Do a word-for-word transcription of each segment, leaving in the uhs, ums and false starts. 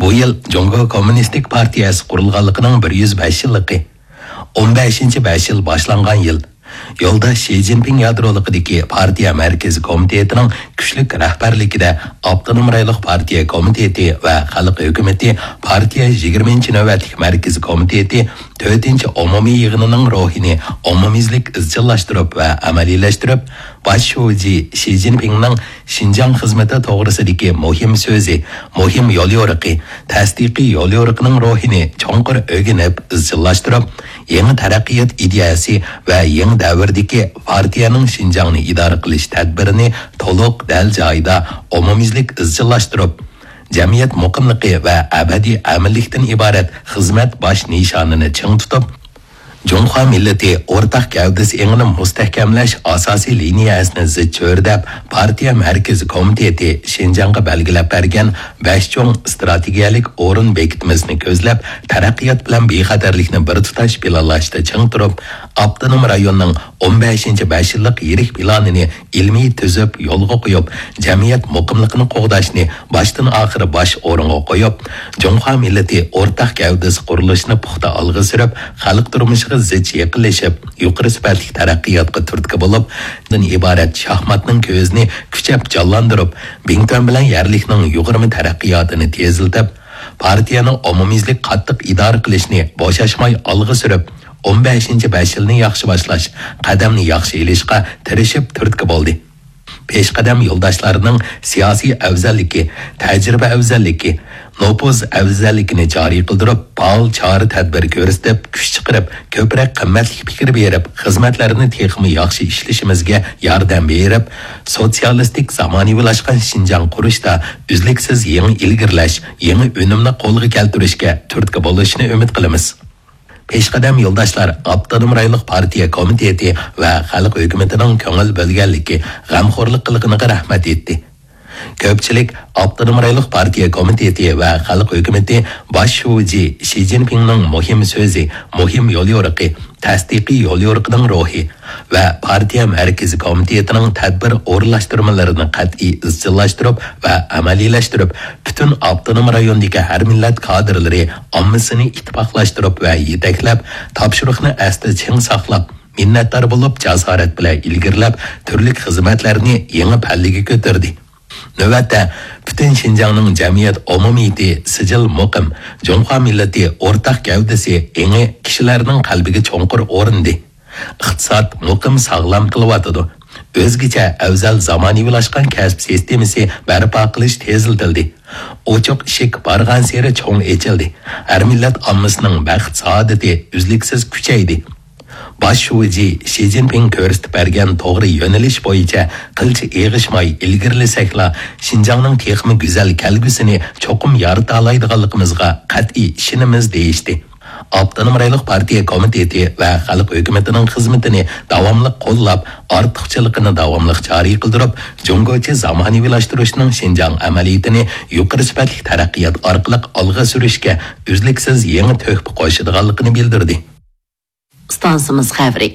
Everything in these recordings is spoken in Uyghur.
بۇ يىل جۇڭگو كوممۇنىستىك پارتىيەسى قۇرۇلغانلىقىنىڭ بىر يۈز بەش يىللىقى. ئون بەشىنچى بەش يىل باشلانغان يىل. يولداش شى جىنپىڭ يادرولۇقىدىكى پارتىيە مەركىزىي كومىتېتىنىڭ كۈچلۈك رەھبەرلىكىدە ئاپتونوم رايونلۇق پارتىيە كومىتېتى ۋە خەلق ھۆكۈمىتى پارتىيە يىگىرمىنچى نۆۋەتلىك مەركىزىي كومىتېتى تۆتىنچى ئومۇمىي يىغىنىنىڭ روھىنى ئومۇميۈزلۈك ئىزچىللاشتۇرۇپ ۋە ئەمەلىيلەشتۈرۈپ، باش شۇجى شى جىنپىڭنىڭ شىنجاڭ خىزمىتى توغرىسىدىكى مۇھىم سۆزى، مۇھىم يوليورۇقى، تەستىقىي يوليورۇقىنىڭ روھىنى چوڭقۇر ئۆگىنىپ ئىزچىللاشتۇرۇپ، يېڭى تەرەققىيات ئىدىيەسى ۋە يېڭى دەۋردىكى پارتىيەنىڭ شىنجاڭنى ئىدارە قىلىش تەدبىرىنى تولۇق دەل جايىدا ئومۇميۈزلۈك ئىزچىللاشتۇرۇپ، جەمئىيەت مۇقىملىقى ۋە ئەبەدىي ئەمىنلىكتىن ئىبارەت خىزمەت باش نىشانىنى چىڭ تۇتۇپ، جۇڭخۇا مىللىتى ئورتاق گەۋدىسى ئېڭىنى مۇستەھكەملەش ئاساسىي لىنىيەسىنى زىچ چۆرىدەپ، پارتىيە مەركىزىي كومىتېتى شىنجاڭغا بەلگىلەپ بەرگەن بەش چوڭ ئىستراتېگىيەلىك ئورۇن بېكىتمىسىنى كۆزلەپ، تەرەققىيات بىلەن بىخەتەرلىكنى بىر تۇتاش پىلانلاشتا چىڭ تۇرۇپ، ئاپتونوم رايوننىڭ ئون بەشىنچى بەش يىللىق يىرىك پىلانىنى ئىلمىي تۈزۈپ يولغا قويۇپ، جەمئىيەت مۇقىملىقىنى قوغداشنى باشتىن ئاخىر باش ئورۇنغا قويۇپ، جۇڭخۇا مىللىتى ئورتاق گەۋدىسى قۇرۇلۇشىنى پۇختا ئالغا سۈرۈپ، خەلق تۇرمۇشىغا زىچ يېقىنلىشىپ، يۇقىرى سۈپەتلىك تەرەققىياتقا تۈرتكە بولۇپ، دىن ئىبارەت شاھماتنىڭ كۆزىنى كۈچەپ جانلاندۇرۇپ، بىڭتۈەن بىلەن يەرلىكنىڭ يۇغۇرما تەرەققىياتىنى تېزلىتىپ، پارتىيەنىڭ ئومۇميۈزلۈك قاتتىق ئىدارە قىلىشنى بوشاشماي ئالغا سۈرۈپ، ئون بەشىنچى بەش يىلنى ياخشى باشلاش، قەدەمنى ياخشى ئېلىشقا تىرىشىپ تۈرتكە بولدى. پېشقەدەم يولداشلارنىڭ سىياسىي ئەۋزەللىكى، تەجرىبە ئەۋزەللىكى، نوپۇز ئەۋزەللىكىنى جارى قىلدۇرۇپ، پائال چارە-تەدبىر كۆرسىتىپ، كۈچ چىقىرىپ، كۆپرەك قىممەتلىك پىكىر بېرىپ، خىزمەتلەرنى تېخىمۇ ياخشى ئىشلىشىمىزگە ياردەم بېرىپ، سوتسىيالىستىك زامانىۋىلاشقان شىنجاڭ قۇرۇشتا ئۈزلۈكسىز يېڭى ئىلگىرىلەش، يېڭى ئۈنۈمنى قولغا كەلتۈرۈشكە تۈرتكە بولۇشىنى ئۈمىد قىلىمىز. پېشقەدەم يولداشلار ئاپتونوم رايونلۇق پارتىيە كومىتېتى ۋە خەلق ھۆكۈمىتىنىڭ كۆڭۈل بۆلگەنلىكى، غەمخورلۇق قىلغىنىغا رەھمەت ئېيتتى. كۆپچىلىك ئاپتونوم رايونلۇق پارتىيە كومىتېتى ۋە خەلق ھۆكۈمىتى باش شۇجى شى جىنپىڭنىڭ مۇھىم سۆزى، مۇھىم يوليورۇقى، تەستىقىي يوليورۇقىنىڭ روھى ۋە پارتىيە مەركىزىي كومىتېتىنىڭ تەدبىر ئورۇنلاشتۇرمىلىرىنى قەتئىي ئىزچىللاشتۇرۇپ ۋە ئەمەلىيلەشتۈرۈپ، پۈتۈن ئاپتونوم رايوندىكى ھەر مىللەت كادىرلىرى ئاممىسىنى ئىتتىپاقلاشتۇرۇپ ۋە يېتەكلەپ، تاپشۇرۇقنى ئەستە چىڭ ساقلاپ، مىننەتدار بولۇپ، جاسارەت بىلەن ئىلگىرىلەپ، تۈرلۈك خىزمەتلەرنى يېڭى پەللىگە كۆتۈردى. نۆۋەتتە، پۈتۈن شىنجاڭنىڭ جەمئىيەت ئومۇمىيىتى سىجىل مۇقىم، جۇڭخۇا مىللىتى ئورتاق گەۋدىسى ئېڭى كىشىلەرنىڭ قەلبىگە چوڭقۇر ئورنىدى. ئىقتىساد مۇقىم ساغلام قىلىۋاتىدۇ. ئۆزگىچە ئەۋزەل زامانىۋىلاشقان كەسىپ سىستېمىسى بەرپا قىلىش تېزلىتىلدى. ئوچۇق ئىشىك بارغانسېرى چوڭ ئېچىلدى. ھەر مىللەت ئاممىسىنىڭ بەخت-سائادىتى ئۈزلۈكسىز كۈچەيدى. باش شۇجى شى جىنپىڭ كۆرسىتىپ بەرگەن توغرا يۆنىلىش بويىچە قىلچە ئېغىشماي ئىلگىرىلىسەكلا، شىنجاڭنىڭ تېخىمۇ گۈزەل كەلگۈسىنى چوقۇم يارىتالايدىغانلىقىمىزغا قەتئىي ئىشىنىمىز، دېيىشتى. ئاپتونوم رايونلۇق پارتىيە كومىتېتى ۋە خەلق ھۆكۈمىتىنىڭ خىزمىتىنى داۋاملىق قوللاپ، ئارتۇقچىلىقىنى داۋاملىق جارى قىلدۇرۇپ، جۇڭگوچە زامانىۋىلاشتۇرۇشنىڭ شىنجاڭ ئەمەلىيىتىنى يۇقىرى سۈپەتلىك تەرەققىيات ئارقىلىق ئالغا سۈرۈشكە ئۈزلۈكسىز يېڭى تۆھپە قوشىدىغانلىقىنى بىلدۈردى. ئىستانسىمىز خەۋىرى.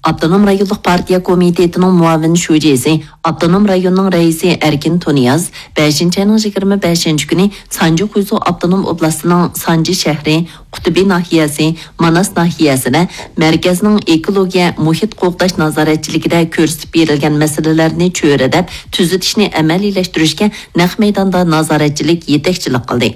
ئاپتونوم رايونلۇق پارتىيە كومىتېتىنىڭ مۇئاۋىن شۇجىسى، ئاپتونوم رايوننىڭ رەئىسى ئەركىن تۇنىياز بەشىنچى ئاينىڭ يىگىرمە بەشىنچى كۈنى سانجى خۇيزۇ ئاپتونوم ئوبلاستىنىڭ سانجى شەھىرى، قۇتۇبى ناھىيەسى، ماناس ناھىيەسىدە مەركەزنىڭ ئېكولوگىيە مۇھىت قوغداش نازارەتچىلىكىدە كۆرسىتىپ بېرىلگەن مەسىلىلەرنى چۆرىدەپ، تۈزىتىشنى ئەمەلىيلەشتۈرۈشكە نەق مەيداندا نازارەتچىلىك يېتەكچىلىك قىلدى.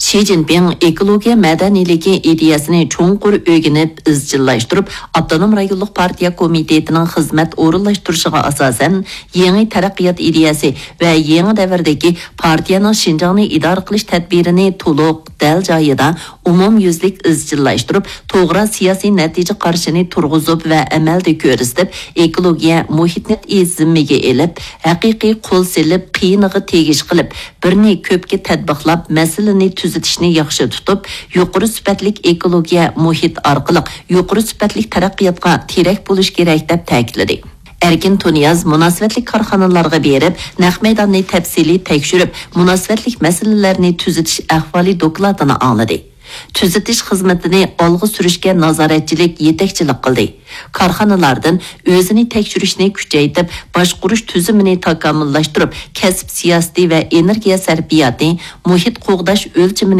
شى جىنپىڭ ئېكولوگىيە مەدەنىيلىكى ئىدىيەسىنى چوڭقۇر ئۆگىنىپ، ئىزچىللاشتۇرۇپ، ئاپتونوم رايونلۇق پارتىيە كومىتېتىنىڭ خىزمەت ئورۇنلاشتۇرۇشىغا ئاساسەن، يېڭى تەرەققىيات ئىدىيەسى ۋە يېڭى دەۋردىكى پارتىيەنىڭ شىنجاڭنى ئىدارە قىلىش تەدبىرىنى تولۇق، دەل جايىدا، ئومۇميۈزلۈك ئىزچىللاشتۇرۇپ، توغرا سىياسىي نەتىجە قارىشىنى تۇرغۇزۇپ ۋە ئەمەلدە كۆرسىتىپ، ئېكولوگىيە مۇھىتنى زىممىگە ئېلىپ، ھەقىقىي قول سېلىپ، قىيىنىغا تېگىش قىلىپ، بىرنى كۆپكە تەتبىقلاپ، مەسىلىنى تۈزىتىشنى ياخشى تۇتۇپ، يۇقىرى سۈپەتلىك ئېكولوگىيە مۇھىت ئارقىلىق يۇقىرى سۈپەتلىك تەرەققىياتقا تىرەك بولۇش كېرەك، دەپ تەكىتلىدى. ئەركىن تۇنىياز مۇناسىۋەتلىك كارخانىلارغا بېرىپ، نەق مەيداننى تەپسىلىي تەكشۈرۈپ، مۇناسىۋەتلىك مەسىلىلەرنى تۈزىتىش ئەھۋالى دوكلاتىنى ئاڭلىدى. تۈزىتىش خىزمىتىنى ئالغا سۈرۈشكە نازارەتچىلىك، يېتەكچىلىك قىلدى. كارخانىلاردىن ئۆزىنى تەكشۈرۈشنى كۈچەيتىپ، باشقۇرۇش تۈزۈمىنى تاكامۇللاشتۇرۇپ، كەسىپ سىياسىتى ۋە ئېنېرگىيە سەرپىياتى، مۇھىت قوغداش ئۆلچىمىنى